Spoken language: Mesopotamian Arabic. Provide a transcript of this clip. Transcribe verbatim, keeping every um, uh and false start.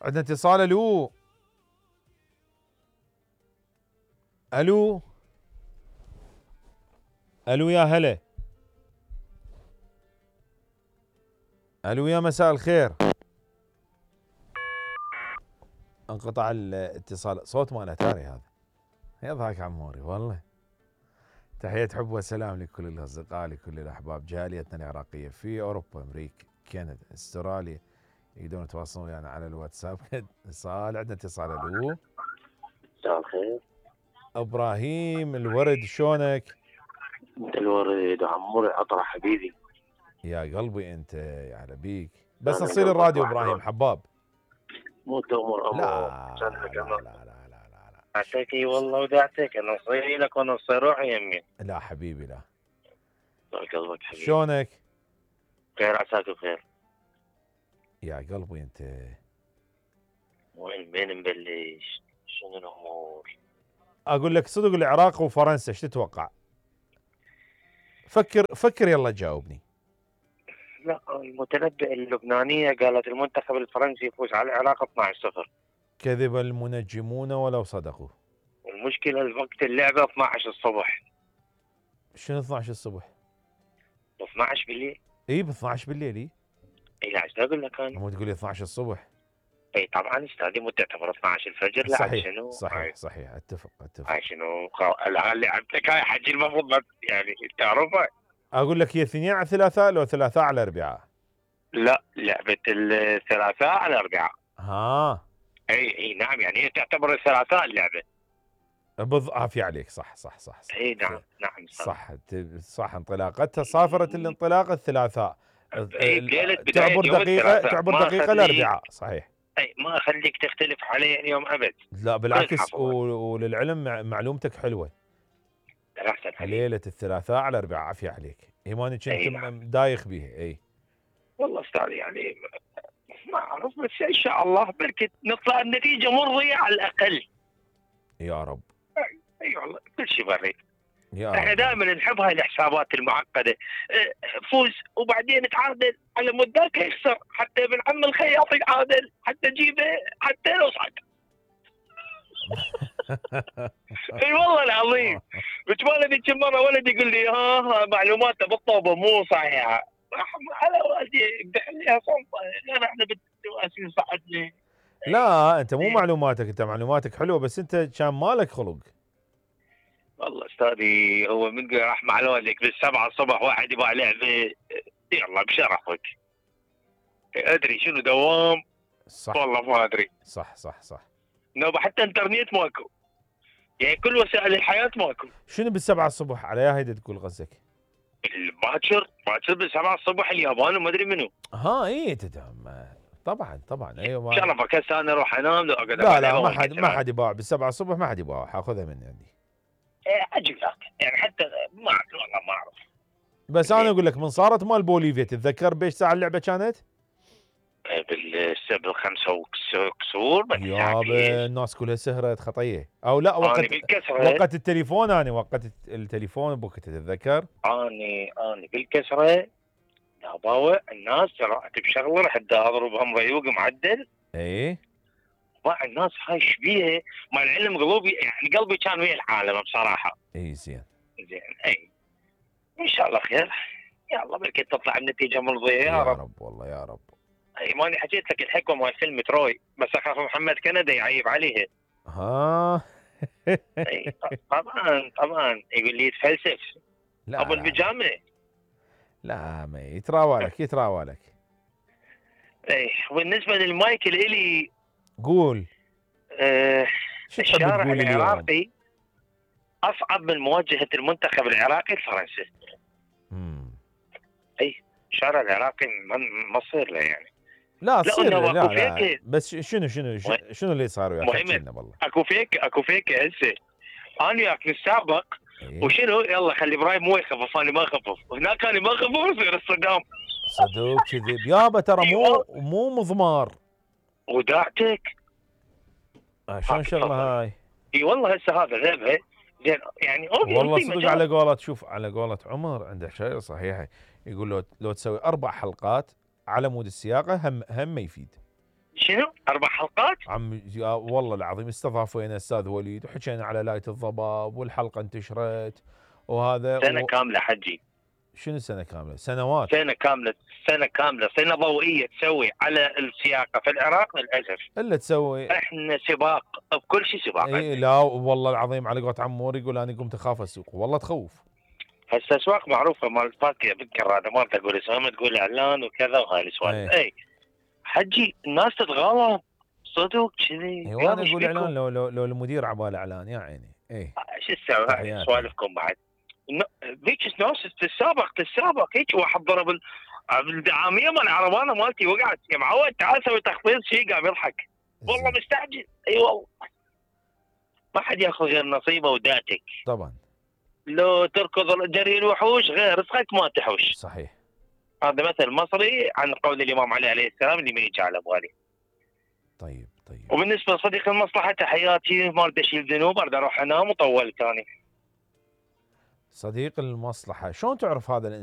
عندنا اتصال. الو الو الو يا هلا. الو يا مساء الخير. انقطع الاتصال. صوت مال اتاري هذا. يضحك عموري والله. تحية حب وسلام لكل الاصدقاء، لكل الاحباب، جاليتنا العراقيه في اوروبا، امريكا، كندا، استراليا، يقدرون يتواصلون ويانا يعني على الواتساب. اتصال. عندنا اتصال. الو مساء الخير. ابراهيم الورد، شلونك؟ انت الورد عموري عطره حبيبي. يا قلبي انت، يا على بيك. بس اصيل الراديو ابراهيم حباب. مو تؤمر امر. لا لا لا لا لا لا لا. اعطيك اي والله وداعتك، انا صيري لك وانا صير روحي يمي. لا حبيبي لا. طال قلبك حبيبي. شلونك؟ خير عساك بخير. يا قلبي انت. وين بين نبلش؟ شنو الامور؟ اقول لك صدق، العراق وفرنسا ايش تتوقع؟ فكر فكر يلا جاوبني. لا المتنبئ اللبنانيه قالت المنتخب الفرنسي يفوز على العراق اثنعش صفر. كذب المنجمون ولو صدقوا. المشكله وقت اللعبه اثنعش الصبح. شنو اثنعش الصبح؟ اثنعش بالليل. اي ب اثنعش بالليل. اي اي لا ايش اقول لك انا؟ مو تقول لي اثنعش الصبح؟ اي طبعا استاذي مو تعتبر اثنعش الفجر. لا صحيح شنو؟ صحيح هاي. صحيح. اتفق اتفق. هاي شنو؟ الان لعبتك هاي حجي المفروض يعني تعرفها. اقول لك هي اثنين على ثلاثاء لو ثلاثاء على اربعاء؟ لا لعبه الثلاثاء على اربعاء. ها اي اي نعم، يعني هي تعتبر الثلاثاء اللعبه. بض عافية عليك. صح صح صح, صح. اي نعم نعم صح صح. انطلاقتها صافرة الانطلاق الثلاثاء. تعبر دقيقة تعبر دقيقة الاربعاء. صحيح. اي ما اخليك تختلف علي اليوم ابد. لا بالعكس، وللعلم معلومتك حلوة. ليلة الثلاثاء على الاربعاء. عافية عليك. ايماني كنت نعم. دايخ بيها. اي والله استاذ يعني ما اعرف، بس ان شاء الله بركة نطلع النتيجة مرضية على الاقل. يا رب. اي والله كل شيء بريء. احنا دائما نحب هاي الحسابات المعقده. فوز وبعدين تعادل على مود ذاك يخسر، حتى ابن عم الخياط يتعادل، حتى جيبه حتى لو صعد. اي والله العظيم. بتمالي كم مره ولد يقول لي ها ها معلوماته بالطوبه مو صحيحه. على والدي بحليها صنطه. لا احنا بالتواسي صعدنا. لا انت مو معلوماتك، انت معلوماتك حلوه، بس انت كان مالك خلق. والله استاذي هو من راح مع والدك بالسبعة الصبح واحد يبغى لعبه، يلا بشرفك. ادري شنو دوام. صح والله ما ادري. صح صح صح. نوبه حتى انترنت ماكو، يعني كل وسائل الحياه ماكو. شنو بالسبعة الصبح على يا هيدا تقول قصدك؟ باكر باكر بالسبعة الصبح اليابان وما ادري منو. ها اي تدعم طبعا طبعا. ايوه شرفك هسه انا اروح انام لو اقعد. لا لا ما حد ما حد يباع بالسبعة الصبح، ما حد يباع. حاخذها مني عندي. ايه اجيب لك يعني حتى ما اعرف والله ما اعرف. بس انا اقول لك من صارت مال بوليفيا تتذكر بايش ساعه اللعبه كانت؟ بالسبع خمسة وكسور. يابا الناس كلها سهرت خطيه. او لا وقت وقت التليفون. انا وقت التليفون بوقت تتذكر؟ اني اني بالكسره يا باوع الناس رحت بشغله رحت اضربهم ريوق معدل. ايه مع الناس هاي شبيه مع العلم قلوبي يعني قلبي كان ويا العالم بصراحه. اي زين زين. اي ان شاء الله خير. يلا بركي تطلع النتيجه مرضيه يا, يا رب. رب والله يا رب. اي ماني حكيت لك الحكوه مال فيلم تروي، بس اخاف محمد كندا يعيب عليها. ها اي طبعا طبعا يقول لي يتفلسف ابو البيجامه. لا ما يتراوالك يتراوالك. اي وبالنسبه للمايكل الي قول. آه الشارع العراقي اصعب من مواجهه المنتخب العراقي لفرنسا. امم اي الشارع العراقي ما تصير له يعني. لا تصير لا, لا, لا بس شنو شنو شنو اللي صار وياك؟ والله اكو فيك اكو فيك هسه انا وياك نسابق. إيه؟ وشنو يلا خلي ابراهيم مو يخفف انا ما اخفف، هناك انا ما اخفف يصير الصدام. صدوق كذب يابا ترى مو مو مضمار. وداعتك شلون شغله هاي؟ اي والله هسه هذا ذبه زين يعني والله صدق. على قولة شوف على قولة عمر عنده شيء صحيحه، يقول لو لو تسوي اربع حلقات على مود السياقه هم هم ما يفيد. شنو اربع حلقات؟ عم والله العظيم استضافينا استاذ وليد وحكينا على لاية الضباب والحلقه انتشرت وهذا سنه و... كامله حجي. شنو سنه كامله؟ سنوات. سنه كامله سنه كامله سنه ضوئيه تسوي على السياقه في العراق للاسف. الا تسوي احنا سباق بكل شيء سباق. اي لا والله العظيم على قولة عمور يقول انا قمت اخاف السوق والله تخوف. هسه اسواق معروفه مال فاكهه بالكراده ما تقول اسمها تقول اعلان وكذا وهاي السوالف. اي حجي الناس تتغاضى صدق كذي. اي وانا اقول اعلان لو لو, لو المدير عباله اعلان يا عيني. اي شو تسوي سوالفكم بعد ذيك ناس تتسابق تتسابق هيك واحد ضرب الدعاميه مال العربانه مالتي وقعت يا معود تعال سوي تخفيض شيء قام يضحك والله مستعجل. اي والله ما حد ياخذ غير نصيبه وداتك. طبعا لو تركض جري الوحوش غير رزقك ما تحوش. صحيح. هذا مثل مصري عن قول الامام علي عليه السلام اللي ما يجي على بالي. طيب طيب. وبالنسبه لصديق المصلحه تحياتي ما اريد اشيل ذنوب اريد اروح انام وطولت ثاني. صديق المصلحه شلون تعرف هذا الانسان؟